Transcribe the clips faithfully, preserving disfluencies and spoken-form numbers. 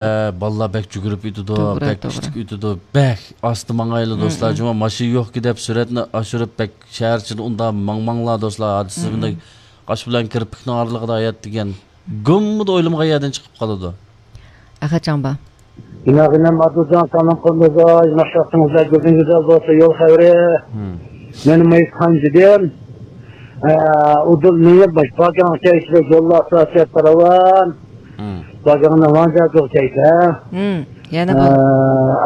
ئە، بالىلار بەك جۈگۈرۈپ ئۆتىدۇ، توغرا، بەك توغرا. كۈچلۈك ئۆتىدۇ، بەك ئاستى ماڭايلى، مم، دوستلار. مم. جۇما ماشىنا يوقكى دەپ سۈرەتنى ئاشۇرۇپ، بەك شەھەر ئىچىدە ئۇنداق ماڭماڭلار، دوستلار. ھادىسە، مم، مۇنداق قاش بىلەن كىرپىكنىڭ ئارىلىقىدا ھايات دېگەن گۇممىدا ئويلىمىغان يەردىن چىقىپ قالىدۇ. ئەخەتجان با. گۈناھىنەم ئادىلجان، سالام قىلدىڭىز، ياخشىلىقىڭىزدا گۈزىڭىزدە بولسا يول خەۋىرى. مم. مېنىڭ مەيىز قانجىدىن. ئە، ئۇدۇل مېنى باش باگاڭ چەيسىلە يوللار سىياسەت پاراۋان. مم. باگاڭنى ۋانجا جوغ چەيسە. مم. يەنە ئە، بۇ.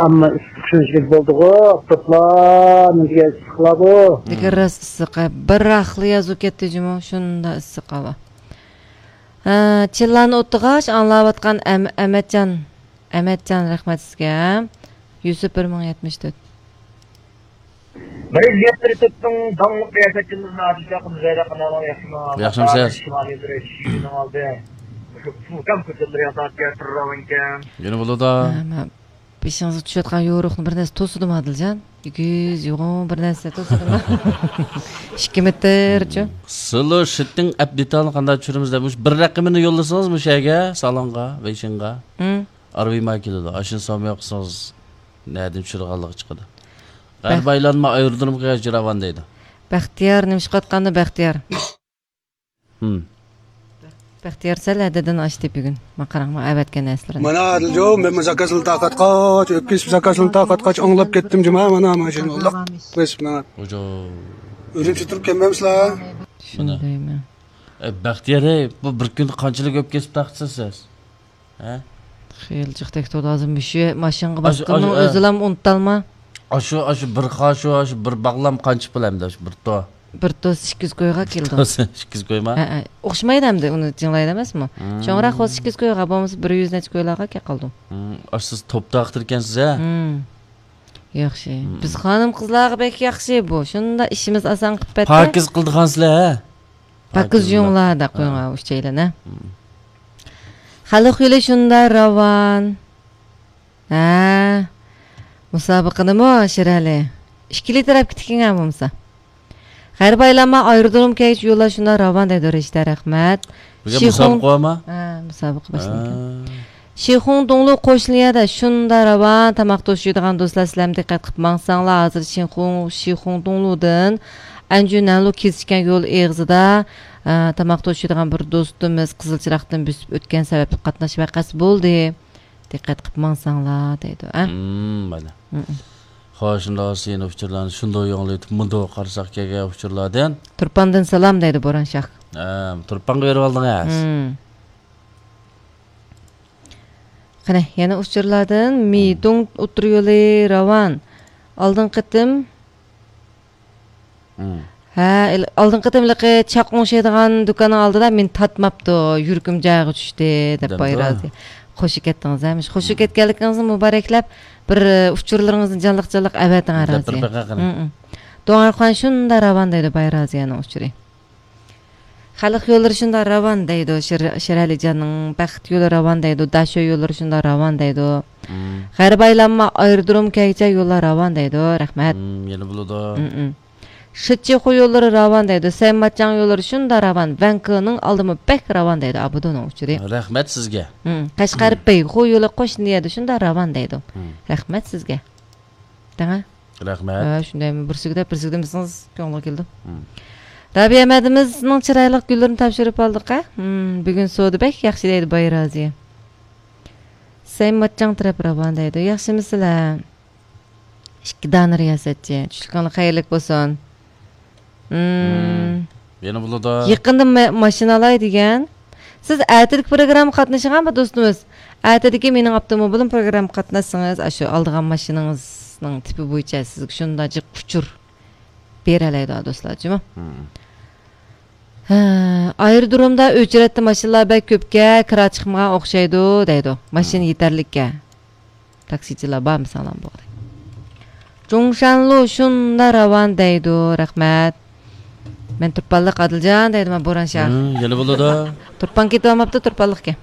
ئەمما ئىسسىق شۇنچىلىك بولدىغۇ، ئاپتاپلار، نېمىگە ئىسسىقلار بۇ؟ لېكىن راست ئىسسىق، بىر راخلا يازۇپ كەتتى جۇمۇ، شۇنداق ئىسسىق ھاۋا. ھە، چىللانى ئوتتىغاچ ئاڭلاۋاتقان ئەم-، ئەمەتجان. ئەمەتجان، رەھمەت سىزگە. يۈسۈپ بىر مىڭ يەتمىش تۆت. بىرىنچى يەتتە تۆتنىڭ داڭلىق رىياسەتچىمىز نادىر ئاكىمىز زەيدە قانالىڭ ياخشىمۇ؟ ياخشىمۇسىز؟ شىمالىي بىر ئىشىكنىڭ ئالدى. مۇشۇ پۇلكام كۆچەتلىرى ياساپ بىر راۋان ئىكەن. يەنە بولىدۇ. ھە، مە-، بېشىڭىزغا چۈشۈۋاتقان يورۇقنى بىر نەرسە توسىدىمۇ ئادىلجان؟ ئېگىز، يوغان بىر نەرسە توسىدىمۇ؟ ئىككى مېتىرچۇ؟ سىلو شىتتىڭ ئەپ دېتالنى قانداق چۈشۈرىمىز دەپ، مۇشۇ بىر رەقىمىنى يوللىسىڭىز مۇشۇ يەرگە، سالونغا، ۋېيشىنغا. ھىم. ئارىۋىما كېلىدۇ. ئاشۇنى سوميا قىلسىڭىز، نەدىن چۈشۈرگەنلىكى چىقىدۇ. بەخ- غەربىي ئايلانما ئايرودرومغا ياجراۋان دەيدۇ. بەختىيار، نېمە ئىش قىلىۋاتقاندا بەختىيار؟ ھىم. بەختىيار سەل ھەددىدىن ئاشتى بۈگۈن. ما قاراڭ، ما ئەۋەتكەن نەرسىلىرىنى. مانا، ئادىلجو، مەنمۇ زاكازنى تارقاتقاچ، ئۆپكىسىپ زاكازنى تارقاتقاچ، ئاڭلاپ كەتتىم جۇما، مانا، ماشىنا ئۇللۇق بېسىپ ماڭا. ئۈرۈمچى تۇرۇپ كەلمەمسىلەر؟ شۇندايمەن. ئەي، بەختىيار، ئەي، بۇ بىر كۈندە قانچىلىك ئۆپكىسىپ تارقىتىسىز سىز؟ ھە؟ خېلى جىق تەكتۇردى ھازىر مۇشۇ ماشىنىغا ئاشۇ، باسقىنىڭ ئاشۇ، ئە. ئۆزىلا ئۇنتالما. ئاشۇ، ئاشۇ بىر خاشۇ، ئاشۇ بىر باغلام قانچە پۇل ئەمدى ئاشۇ بىر تو؟ بىر توس ئىككى يۈز كويغا كېلىدۇ. توس ئىككى يۈز كويما؟ ھە، ھە. ئوخشىمايدۇ ئەمدى، ئۇنى جىڭلايدۇ ئەمەسمۇ؟ مم. چوڭراق بولسا ئىككى يۈز كويغا، بولمىسا بىر يۈز نەچچە كويلارغا كېلىپ قالىدۇ. مم. ئاشۇ سىز توپ تارقىتىدىكەنسىز ھە؟ مم. ياخشى. مم. بىز خانىم قىزلارغا بەك ياخشى بۇ. شۇنداق ئىشىمىز ئاسان قىلىپ بەتتە. پاكىز قىلىدىغانسىلەر ھە؟ پاكىز يۇڭلار دەپ قويۇڭ ھە. ئۈچەيلەن ھە. مم. خەلق يولى شۇنداق راۋان. ھە، مۇسابىقىنىمۇ شىرئەلى ئىككىلى تەرەپكە تىكىڭە بولمىسا. غەربىي ئايلانما ئايرودروم كەيچ يوللار شۇنداق راۋان دەيدۇ رىشتە، رەھمەت. بۈگۈن شىخۇڭ مۇسابىقە بارمۇ؟ ھە، مۇسابىقە باشلىنىدىكەن. ھە. شىخۇڭ دۇڭلۇ قوشنا يەردە شۇنداق راۋان تاماق توشۇيدىغان دوستلار، سىلەرمۇ دىققەت قىلىپ ماڭساڭلار، ھازىر شىخۇڭ، شىخۇڭ دۇڭلۇدىن ئەنجۈ نەنلۇ كېسىشكەن يول ئېغىزىدا، ئە، تاماق توشۇيدىغان بىر دوستىمىز قىزىل چىراغدىن بۆسۈپ ئۆتكەن سەۋەبلىك قاتناش ۋەقەسى بولدى. دىققەت قىلىپ ماڭساڭلار دەيدۇ، ئە؟ مم، مانا. مم. خوش، شۇنداق بولسا يەنە ئۇچۇرلارنى شۇنداق ياڭلىتىپ، مۇنداق قارىساق كەلگەن ئۇچۇرلاردىن. تۇرپاندىن سالام دەيدۇ بوران شاھ. ھە، تۇرپانغا بېرىۋالدىڭىز. مم. قېنى، يەنە ئۇچۇرلاردىن مم. مىدۇڭ ئوتتۇرا يولى راۋان. ئالدىنقى قېتىم مم. ھە، ئىل-، ئالدىنقى قېتىم ھېلىقى چاق ئوڭشايدىغان دۇكاننىڭ ئالدىدا مېنى تارتماپتۇ، يۈرىكىم جايىغا چۈشتى، دەپ دەپتۇ. بايرازى. قوشۇپ كەتتىڭىز ھە، مۇشۇ قوشۇپ مم. كەتكەنلىكىڭىزنى مۇبارەكلەپ، بىر، ئۇچۇرلىرىڭىزنى جانلىق-جانلىق ئەۋەتىڭ ھە، دەپ بىر رازى. بېقىڭ قېنى. مم، مم. دوڭارخان شۇنداق راۋان دەيدۇ، بايرازىيەنىڭ ئۇچۇرى. خەلق يوللىرى شۇنداق راۋان دەيدۇ، شىر-، شىرئەلىجاننىڭ بەخت يولى راۋان دەيدۇ، داشۆ يوللىرى شۇنداق راۋان دەيدۇ. مم. غەربىي ئايلانما ئايرودروم كەيچە يوللار راۋان دەيدۇ، رەھمەت. مم، يەنە بولىدۇ. مم، مم. شىتچىخۇ يوللىرى راۋان دەيدۇ، سەيماتچاڭ يوللىرى شۇنداق راۋان، ۋەنكىنىڭ ئالدىمۇ بەك راۋان دەيدۇ، ئابىدۇنىڭ ئۇچۇرى. رەھمەت سىزگە. مم. قەشقەر مم. بەيخۇ يولى قوشنا يەردە شۇنداق راۋان دەيدۇ. مم. رەھمەت سىزگە. دەڭە. رەھمەت. ھە، شۇندايمۇ بىرسىگە دەپ بىرسىگە دېمىسىڭىز كۆڭلىگە كېلىدۇ. مم. رابىيە مەدىمىزنىڭ چىرايلىق گۈللىرىنى تاپشۇرۇپ ئالدۇق ھە. مم، بۈگۈن سودا بەك ياخشى دەيدۇ بايرازىيە. سەيماتچاڭ تەرەپ راۋان دەيدۇ. ياخشىمۇسىلەر؟ ئىككى دانە رىياسەتچى. چۈشلۈكۈڭلار خەيرلىك بولسۇن. مم. مم. يەنە بولىدۇ. يېقىندا ما-، ماشىنا ئالاي دېگەن. سىز ئەتىدىكى پروگراممىغا قاتنىشىڭا بۇ دوستىمىز. ئەتىدىكى مېنىڭ ئاپتوموبىلىم پروگراممىغا قاتناشسىڭىز، ئاشۇ ئالىدىغان ماشىنىڭىزنىڭ تىپى بويىچە سىزگە شۇنداق جىق ئۇچۇر بېرەلەيدۇ، دوستلار، جۇمۇ. مم. ھە، ئايرودرومدا ئۆچرەتتە ماشىنىلار بەك كۆپكەن، كىرا چىقمىغان ئوخشايدۇ، دەيدۇ. ماشىنا مم. يېتەرلىككەن. تاكسىچىلار بارمۇ ساغلام بولدى. جۇڭشانلۇ شۇنداق راۋان دەيدۇ، رەھمەت. مەن تۇرپانلىق ئادىلجان دەيدۇ، مانا بوران شاھ. ھىم، يەنە بولىدۇ. تۇرپان كېتىۋالماپتۇ، تۇرپانلىق ئىكەن.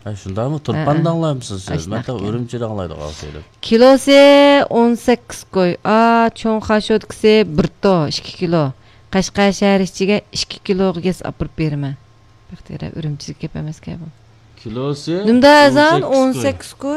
ھە، شۇنداقمۇ؟ تۇرپان ھە، ھە. داڭلايمسىز سىز؟ ئاشۇنداق مەن ئىكەن. ئۈرۈمچىدە ئاڭلايدىغان سېلىپ. كىلوسى ئون سەككىز كوي. ئا، چوڭ خاشودىكىسى بىر تو، ئىككى كىلو. قەشقەر شەھەر ئىچىگە ئىككى كىلوغا گەس ئاپىرىپ بېرىمەن. بەختىيار، ئۈرۈمچىدىكى گەپ ئەمەسكەن بۇ. كىلوسى نېمىدا ئەرزان؟ ئون سەككىز كوي.